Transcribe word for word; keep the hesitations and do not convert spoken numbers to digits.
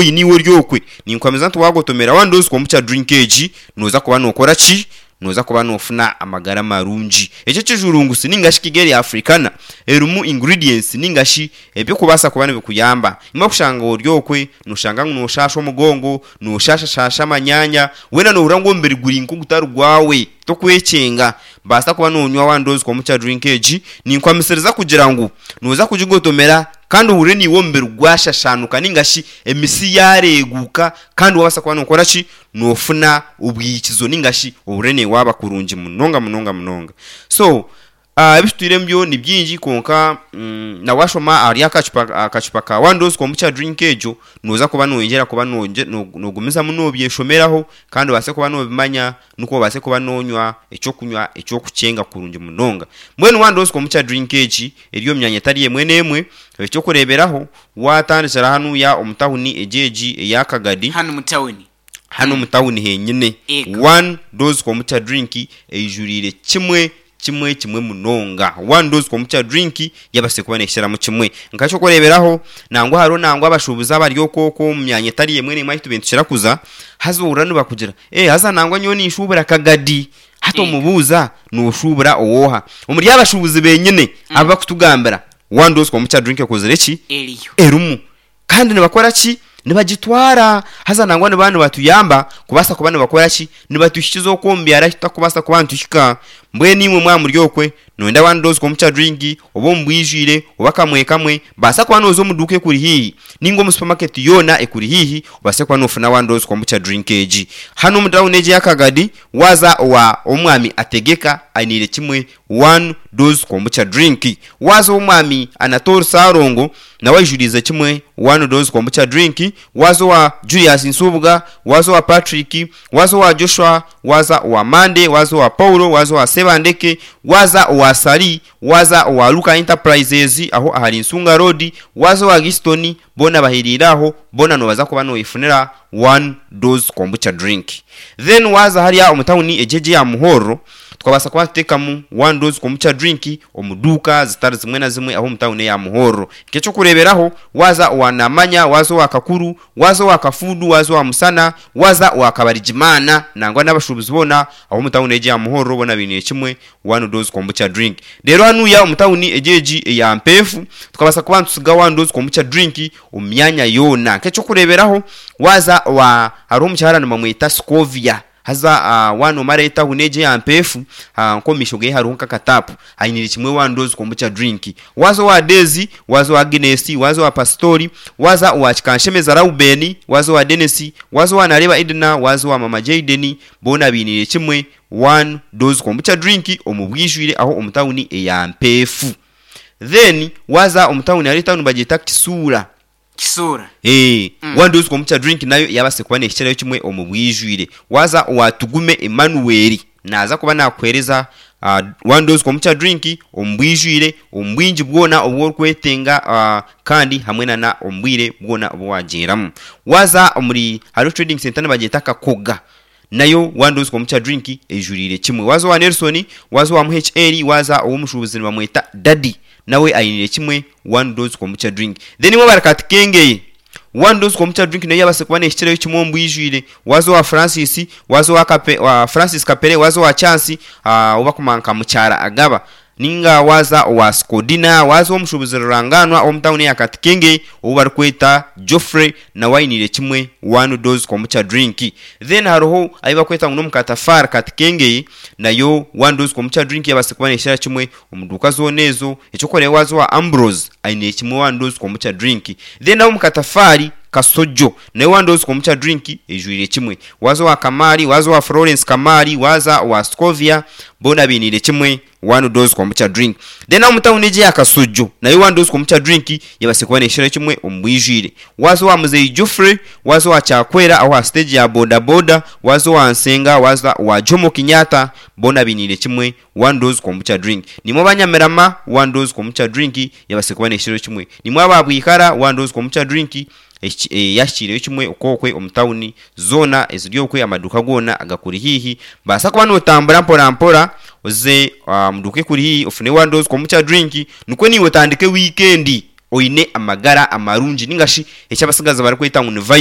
oine iwe ori okwe, ninkuhamiza nti waagotomera One Dose Kombucha Drink egi, nooza kuba nookora ki? Nooza kuba noofuna amagara marungi. Eki ekijurungusi ninga shi Kigali Africana erimu ingredients ninga shi ebirikubaasa kuba nibikuyamba. Imwe kushanga ori okwe, nooshanga ngu nooshaasha omugongo, nooshaashashaasha amanyaanya, weena noohurira ngu omubiri guri nk'ogutari gwawe, tokwekyenga. Baasa kuba noonywa One Dose Kombucha Drink egi, ninkuhamisiriza kugira ngu nooza kugigotomera kandi ohurire naiwe omubiri gwashashaanuka ninga shi emisi yaareeguuka kandi waabaasa kuba nookora ki? Noofuna obwikizo ninga shi ohurire naiwe waaba kurungi munonga munonga munonga. So ebi tutwiremu byo ni bingi kwonka na waashoma ahari akacupa akacupa ka One Dose Kombucha Drink egyo, nooza kuba nooyongyera kuba noogumizamu noobyeshomeraho kandi obaase kuba noobimanya nikwo obaase kuba noonywa eky'okunywa eky'okukyenga kurungi munonga. Mbwenu One Dose Kombucha Drink egi eri omu myanya etari emwe n'emwe. Eky'okureeberaho, waatandikira hanuya omu tawuni egi egi eya Kagadi, Hanu mu tawuni. hanu omu tawuni henyine, Ego. One Dose Kombucha Drink eijuriire kimwe kimwe kimwe munonga. One Dose Kombucha Drink yabaasize kuba neekiramu kimwe. Nk'eky'okureeberaho, nangwa hariho nangwa abashuubuzi abari okwo okwo omu myanya etari emwe n'emwe ahu tubaire nitukira kuza, haza ohurira nibakugira, ee haza nangwa nyowe ninshuubura Kagadi. Hati Ego. omubuuza, nooshuubura ow'oha? Omuri abashuubuzi benyine abu bakutugambira, One Dose Kombucha Drink ekozire ki? Eriyo. Erimu. Kandi nibakora ki? Nibagitwara. Haza nangwa nibaba nibatuyamba kubaasa kuba nibakora ki? Nibatuhikiza okwo omu byaro ahu tutakubaasa kuba nituhika. Mbwenu imwe mwaba muri okwe, nooyenda One Dose Kombucha Drink, oba omu bwijwire, oba kamwe kamwe, baasa kuba nooza omu duuka ekuri haihi, ninga omu supamaketi yoona ekuri haihi, obaase kuba noofuna One Dose Kombucha Drink egi. Hanu omu tawuni egi eya Kagadi, waaza owa Omwami Ategeka, ainiire kimwe One Dose Kombucha Drink. Waaza ow'Omwami Anatole Ssalongo, nawe aijuriize kimwe One Dose Kombucha Drink. Waaza owa Julius Nsubuga, waaza owa Patrick, waaza owa Joshua, waaza owa Monday, waaza owa Paulo, waaza owa Sebandeke, waaza owa Sali, waaza owa Luka Enterprises aho ahari Nsunga Road, waaza owa Giston, boona bahereire aho, boona noobaza kuba nooyefunira One Dose Kombucha Drink. Then waaza hariya omu tawuni egi egi eya Muhorro, tukabaasa kuba nituteekamu One Dose Kombucha Drink omu duuka zitari zimwe na zimwe aho omu tawuni eya Muhorro. Nk'eky'okureeberaho, waaza owa Namanya, waaza owa Kakuru, waaza owa Kafuudu, waaza owa Musana, waaza owa Kabarigimaana, nangwa n'abashuubuzi boona aho omu tawuni egi eya Muhorro boona bainiire kimwe One Dose Kombucha Drink. Reero hanuya omu tawuni egi egi eya Mpeefu, tukabaasa kuba nitutsiga One Dose Kombucha Drink omu myanya yoona. Nk'eky'okureeberaho, waaza owa hariho omukyara nibamweta Scovia, haza waaba noomara etawuni egi eya Mpeefu, nk'omu maisho ge hariho nk'akataapu, ainiire kimwe One Dose Kombucha Drink. Waaza owa Daisy, waaza owa Agnes, waaza owa Pasitori, waaza owa Kikanshemeza Rauben, waaza owa Denis, waaza owa Nareeba Edna, waaza owa Mama Jayden, boona bainiire kimwe One Dose Kombucha Drink omu bwijwire aho omu tawuni eya Mpeefu. Then waaza omu tawuni hariho etawuni nibagyeta Kisuura. Kisuura. Ee, One Dose Kombucha Drink nayo yaabaasa kuba neehikirayo kimwe omu bwijwire. Waaza owa Tugume Emmanuel, naaza kuba naakuheereza One Dose Kombucha Drink omu bwijwire, omu bwingi bwona obu orikwetenga kandi hamwe nana omu bwire bwona obu waagyeramu. Waaza omuri hariho Trading Centre nibagyeta Kakoga, nayo One Dose Kombucha Drink eijuriire kimwe. Waaza owa Nelson, waaza owa M H L, waaza ow'omushuubuzi nibamweta Daddy, nawe ainiire kimwe One Dose Kombucha Drink. Then imwe abari Katikengeye, One Dose Kombucha Drink nayo yaabaasa kuba neehikirayo kimwe omu bwijwire. Waaza owa Francis, waaza owa Kape, owa Francis Kapere, waaza owa Chance, ou barikumanya nka Mukyara Agaba, ninga waaza owa Skodina, waaza ow'omushuubuzi rurangaanwa ow'omu tawuni eya Katikenge ou barikweta Geoffrey, nawe ainiire kimwe One Dose Kombucha Drink. Then hariho ahu barikweta ngu n'omu Katafaari Katikengeye, nayo One Dose Kombucha Drink yaabaasa kuba neehikira kimwe omu duuka zoona ezo. Eky'okureeba waaza owa Ambrose, ainiire kimwe One Dose Kombucha Drink. Then ab'omu Katafaari Kasojo, nayo One Dose Kombucha Drink eijwire kimwe. Waaza owa Kamaari, waaza owa Florence Kamaari, waaza owa Scovia, boona bainiire kimwe One Dose Kombucha Drink. Then ab'omu tawuni egi eya Kasojo, nayo One Dose Kombucha Drink yabaasa kuba neehikirayo kimwe omu bwijwire. Waaza owa Muzeeyi Geoffrey, waaza owa Kyakwera aho aha siteegi ya bodaboda, waaza owa Nsenga, waaza owa Jomo Kenyatta, boona bainiire kimwe One Dose Kombucha Drink. Nimwe abanyamirama, One Dose Kombucha Drink yabaasa kuba neehikirayo kimwe. Nimwe aba Bwikara, One Dose Kombucha Drink yahikiireyo kimwe okwokwe omu tawuni zoona eziri okwe, amaduuka goona agakuri haihi. Baasa kuba nootambura mpora mpora oze omu duuka ekuri haihi ofune One Dose Kombucha Drink nikwo naiwe otandike wiikendi oine amagara amarungi ninga shi eki abatsigazi barikweta ngu ni